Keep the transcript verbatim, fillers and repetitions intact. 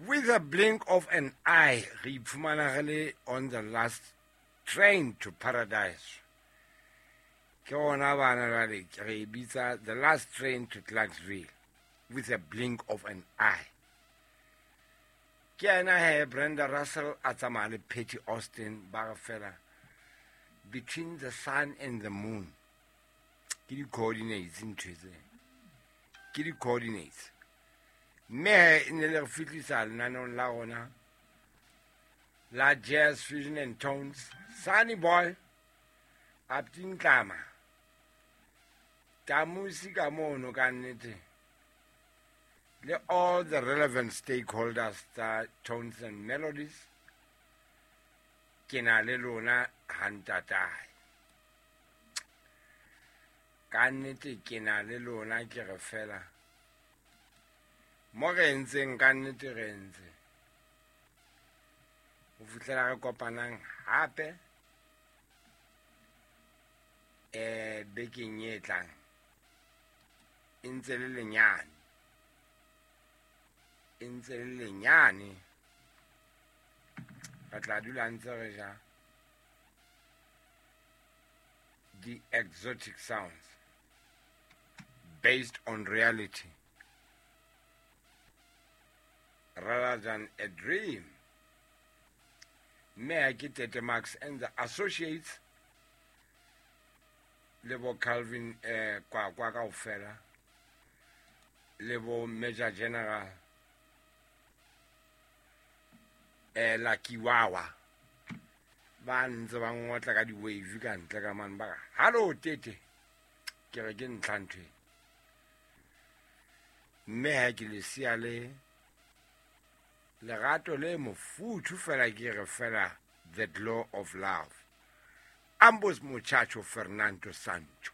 With a blink of an eye, re iphumana re le on the last train to paradise. Ke ona bana jwale re e bitsa the last train to Clarksville with a blink of an eye. Ke ena he Brenda Russell a tsamaya le Patty Austin ba re fela between the sun and the moon. Ke di-coordinates ntho tse. Ke di-coordinates. Mme he e ne le re fihlisa lenaneong la rona la Jazz Fusion and Tones. Sunny Boy Aptintlama Tamusi ka mono ka nnete le all the relevant stakeholders tsa Tones and Melodies ke na le lona hantatae. Ka nnete ke na le lona ke re fela mo re entseng ka nnete re entse ho fihlela re kopanang hape eh bekeng e tlang e ntse le lenyane e ntse le lenyane re tla dula ntse re ja the exotic sounds based on reality rather than a dream. Mme ha ke Tete Max and the Associates le bo Calvin eh kwa kwa kaofela le bo Major General eh Lucky Wawa ba ntse ba ngotla ka di-wave ka ntle ka mane ba re hallo Tete ke re ke ntlha ntho e. Mme ha ke lesea le lerato le mofuthu fela ke re fela the glow of love. Ambos muchacho Fernando Sancho.